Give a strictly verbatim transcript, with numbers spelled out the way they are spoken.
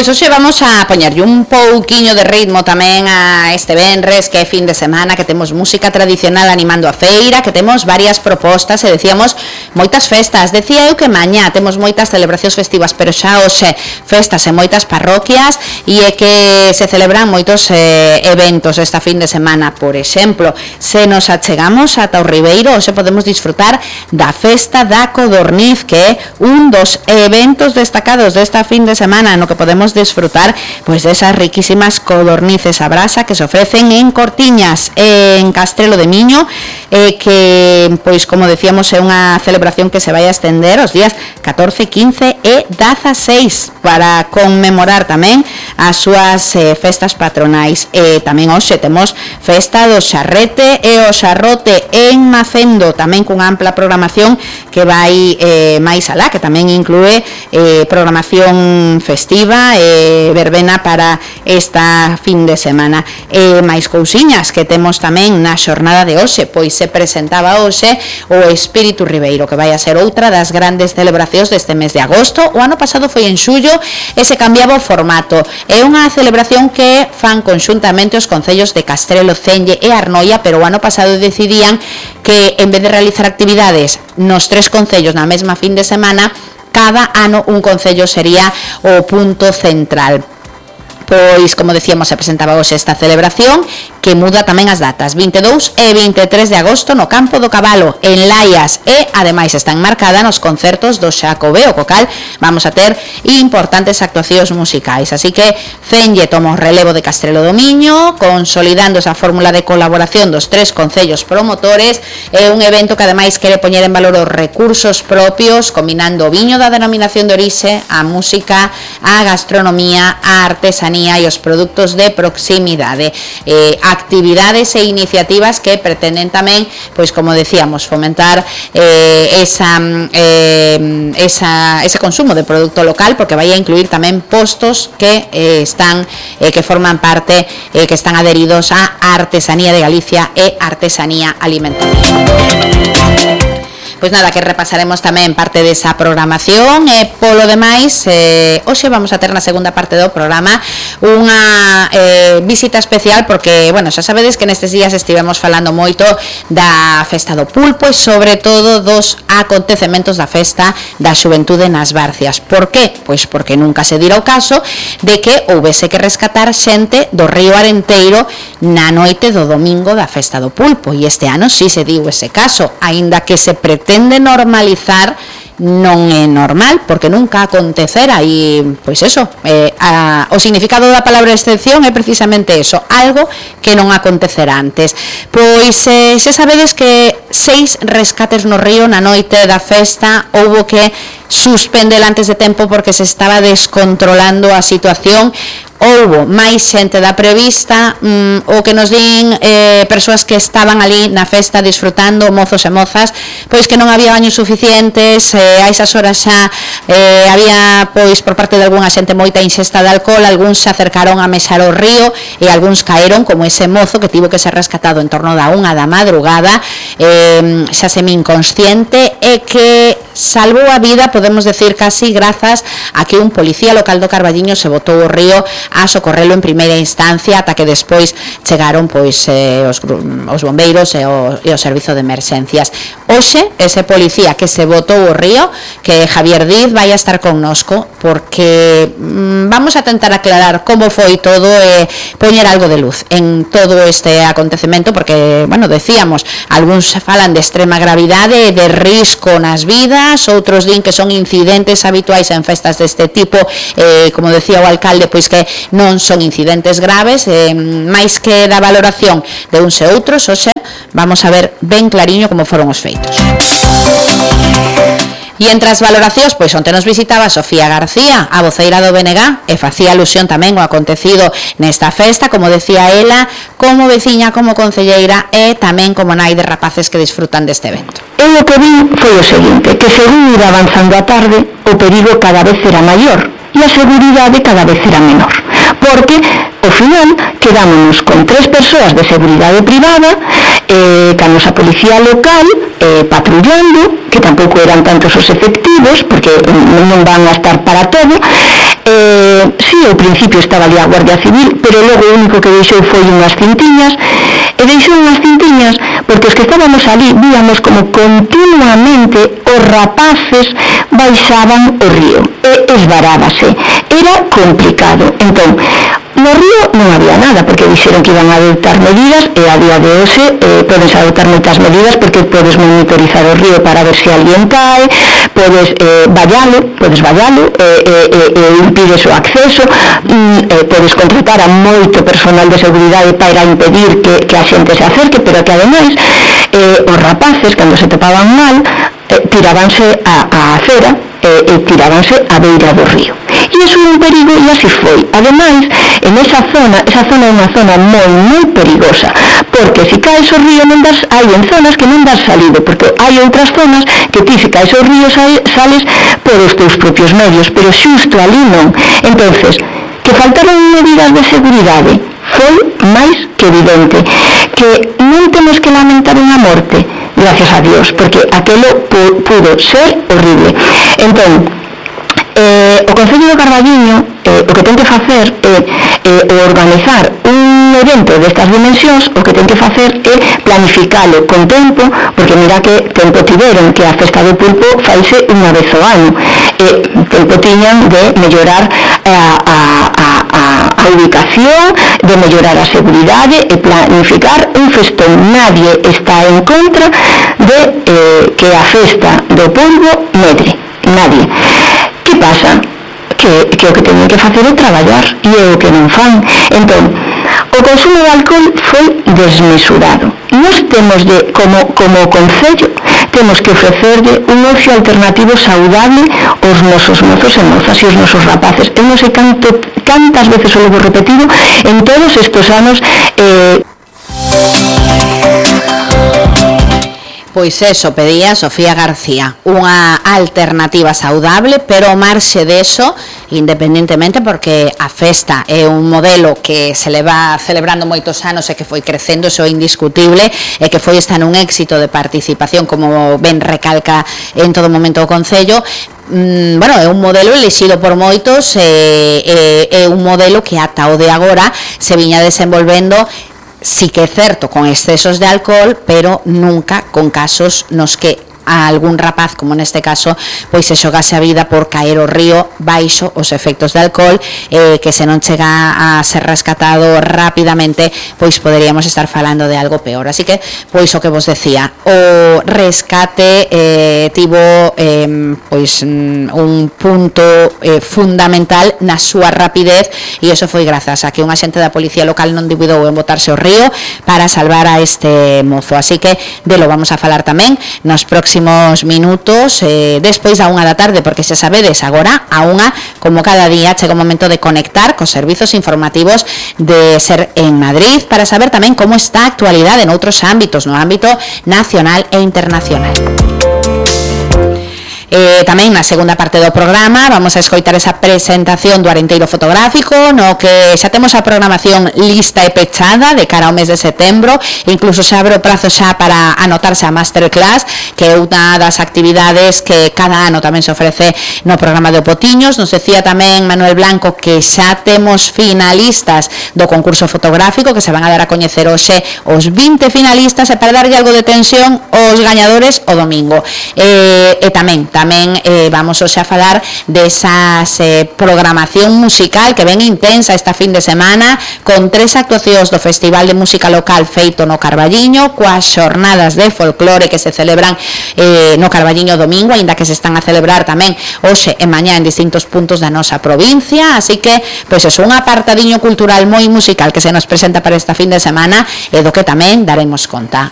Pois hoxe vamos a poñerlle un pouquiño de ritmo tamén a este venres, que é fin de semana, que temos música tradicional animando a feira, que temos varias propostas e decíamos moitas festas. Decía eu que mañá temos moitas celebracións festivas, pero xa hoxe festas en moitas parroquias e é que se celebran moitos eh, eventos esta fin de semana. Por exemplo, se nos achegamos ata o Ribeiro, hoxe podemos disfrutar da festa da Codorniz, que é un dos eventos destacados desta fin de semana, no que podemos disfrutar pois desas riquísimas codornices a brasa que se ofrecen en Cortiñas, en Castrelo de Miño, eh, que pois como decíamos é unha celebración que se vai a estender os días catorce, quince e dieciséis para conmemorar tamén as súas eh, festas patronais. E tamén hoxe temos festa do Xarrete e o Xarrote en Macendo, tamén cunha ampla programación que vai eh, máis alá, que tamén inclúe eh, programación festiva e eh, verbena para esta fin de semana. E máis cousiñas que temos tamén na xornada de hoxe, pois se presentaba hoxe o Espírito Ribeiro, que vai a ser outra das grandes celebracións deste mes de agosto. O ano pasado foi en xullo e se cambiaba o formato. É unha celebración que fan conxuntamente os concellos de Castrelo, Celle e Arnoia, pero o ano pasado decidían que en vez de realizar actividades nos tres concellos na mesma fin de semana, cada ano un concello sería o punto central. Pois, como decíamos, se presentaba hoxe esta celebración que muda tamén as datas, vinte e dous e vinte e tres de agosto no Campo do Cabalo, en Laias, e ademais están marcadas nos concertos do Xacobeo, co cal vamos a ter importantes actuacións musicais. Así que Celle toma o relevo de Castrelo do Miño, consolidando esa fórmula de colaboración dos tres concellos promotores. É un evento que ademais quere poñer en valor os recursos propios, combinando o viño da denominación de orixe, a música, a gastronomía, a artesanía e os produtos de proximidade. Eh, actividades e iniciativas que pretenden tamén, pois como decíamos, fomentar eh, esa, eh, esa, ese consumo de produto local, porque vai a incluir tamén postos que eh, están eh, que forman parte, eh, que están adheridos a Artesanía de Galicia e Artesanía Alimentaria. Pois nada, que repasaremos tamén parte desa programación e polo demais, eh, hoxe vamos a ter na segunda parte do programa unha eh, visita especial, porque, bueno, xa sabedes que nestes días estivemos falando moito da festa do pulpo e sobre todo dos acontecementos da festa da xuventude nas Barcias. Por que? Pois porque nunca se dira o caso de que houvese que rescatar xente do río Arenteiro na noite do domingo da festa do pulpo, e este ano si se diu ese caso, aínda que se pretende de normalizar, non é normal, porque nunca acontecera. E, pois eso, eh, a, o significado da palabra excepción é precisamente eso, algo que non acontecerá antes. Pois eh, xa sabedes que seis rescates no río na noite da festa houbo que suspender antes de tempo porque se estaba descontrolando a situación. Houbo máis xente da prevista, mm, o que nos din eh, persoas que estaban ali na festa disfrutando, mozos e mozas, pois que non había baños suficientes, eh, a esas horas xa eh, había, pois, por parte de algunha xente moita ingesta de alcohol, algúns se acercaron a mesar o río e algúns caeron, como ese mozo que tivo que ser rescatado en torno da unha da madrugada, eh, xa semi inconsciente, e que salvou a vida, podemos decir, casi grazas a que un policía local do Carballiño se botou o río a socorrelo en primeira instancia, ata que despois chegaron pois eh, os, os bombeiros e o, e o servizo de emerxencias. Hoxe, ese policía que se botou o río, que Javier Diz, vai a estar connosco, porque mm, vamos a tentar aclarar como foi todo e eh, poñer algo de luz en todo este acontecemento, porque, bueno, decíamos, algúns falan de extrema gravidade, de risco nas vidas, outros din que son incidentes habituais en festas deste tipo, eh, como decía o alcalde, pois que non son incidentes graves, eh, máis que da valoración de uns e outros. Hoxe vamos a ver ben clariño como foron os feitos. E entre as valoracións, pois onte nos visitaba Sofía García, a voceira do B N G, e facía alusión tamén ao acontecido nesta festa, como decía ela, como veciña, como concelleira e tamén como nai de rapaces que disfrutan deste evento. Eu o que vi foi o seguinte, que según iba avanzando a tarde, o perigo cada vez era maior e a seguridade cada vez era menor, porque ao final quedámonos con tres persoas de seguridade privada, eh, ca nosa policía local eh, patrullando, que tampouco eran tantos os efectivos, porque non van a estar para todo, eh, si ali, ao principio estaba ali a Guardia Civil, pero logo o único que deixou foi unhas cintiñas, e deixou unhas cintiñas porque os que estábamos ali víamos como continuamente os rapaces baixaban o río e esvarábase. Era complicado. Entón, no río non había nada, porque dixeron que iban a adoptar medidas, e a día de hoxe eh, podes adoptar moitas medidas, porque podes monitorizar o río para ver se alguén cae, podes eh, vallalo, podes vallalo, e eh, eh, eh, impides o acceso, mm, eh, podes contratar a moito personal de seguridade para impedir que, que a xente se acerque, pero que ademais eh, os rapaces, cando se topaban mal, eh, tirábanse a, a acera, e, e tirábanse a beira do río. E iso é un perigo, e así foi. Ademais, en esa zona, esa zona é unha zona moi, moi perigosa, porque se caes ao río non das, hai en zonas que non das salido, porque hai outras zonas que ti se caes ao río sales por os teus propios medios, pero xusto ali non. Entonces, que faltaron medidas de seguridade foi máis que evidente. Que non temos que lamentar unha morte, gracias a Dios, porque aquelo pudo ser horrible. Entón, eh, o Concello do Carballiño eh, o que ten que facer é eh, organizar un evento destas dimensións, o que ten que facer é planificalo con tempo, porque mira que tempo tiveron, que a Festa do Pulpo faise unha vez ao ano, e tempo tiñan de mellorar a, a, a, a ubicación, de mellorar a seguridade e planificar un festón. Nadie está en contra de eh, que a Festa do Pulpo medre, nadie. Que pasa? Que, que o que teñen que facer é traballar, e é o que non fan. Entón, o consumo de alcohol foi desmesurado. Nós temos de, como, como concello, temos que ofrecerle un ocio alternativo saudable aos nosos mozos e mozas e aos nosos rapaces. Eu non sei canto, cantas veces o levo repetido en todos estes anos. eh, Pois eso pedía Sofía García, unha alternativa saudable, pero ao marxe deso, independentemente, porque a festa é un modelo que se leva celebrando moitos anos e que foi crecendo, iso é indiscutible, e que foi esta nun éxito de participación, como ben recalca en todo momento o Concello. Mm, bueno, é un modelo elixido por moitos, e, e, é un modelo que ata o de agora se viña desenvolvendo, sí que é certo, con excesos de alcohol, pero nunca con casos nos que a algún rapaz, como neste caso, pois se xogase a vida por caer ao río baixo os efectos de alcohol, eh, que se non chega a ser rescatado rapidamente, pois poderíamos estar falando de algo peor. Así que, pois o que vos decía, o rescate eh, tivo eh, pois un punto eh, fundamental na súa rapidez, e iso foi grazas a que un axente da policía local non dubidou en botarse ao río para salvar a este mozo. Así que de lo vamos a falar tamén nos próximos minutos, eh, despois da unha da tarde, porque xa sabedes, agora a unha, como cada día, chega o momento de conectar cos servizos informativos de Ser en Madrid, para saber tamén como está a actualidade en outros ámbitos, no ámbito nacional e internacional. Eh, tamén na segunda parte do programa vamos a escoitar esa presentación do Arenteiro Fotográfico, no que xa temos a programación lista e pechada de cara ao mes de setembro, incluso se abre o prazo xa para anotarse a Masterclass, que é unha das actividades que cada ano tamén se ofrece no programa de Opotiños. Nos decía tamén Manuel Blanco que xa temos finalistas do concurso fotográfico, que se van a dar a coñecer hoxe os vinte finalistas, e para darlle algo de tensión aos gañadores o domingo. Eh, e tamén, tamén Tamén eh, vamos hoxe a falar desas eh, programación musical que ven intensa esta fin de semana, con tres actuacións do Festival de Música Local feito no Carballiño, coas xornadas de folclore que se celebran eh, no Carballiño domingo, aínda que se están a celebrar tamén hoxe e mañá en distintos puntos da nosa provincia. Así que, pois é un apartadiño cultural moi musical que se nos presenta para esta fin de semana, e do que tamén daremos conta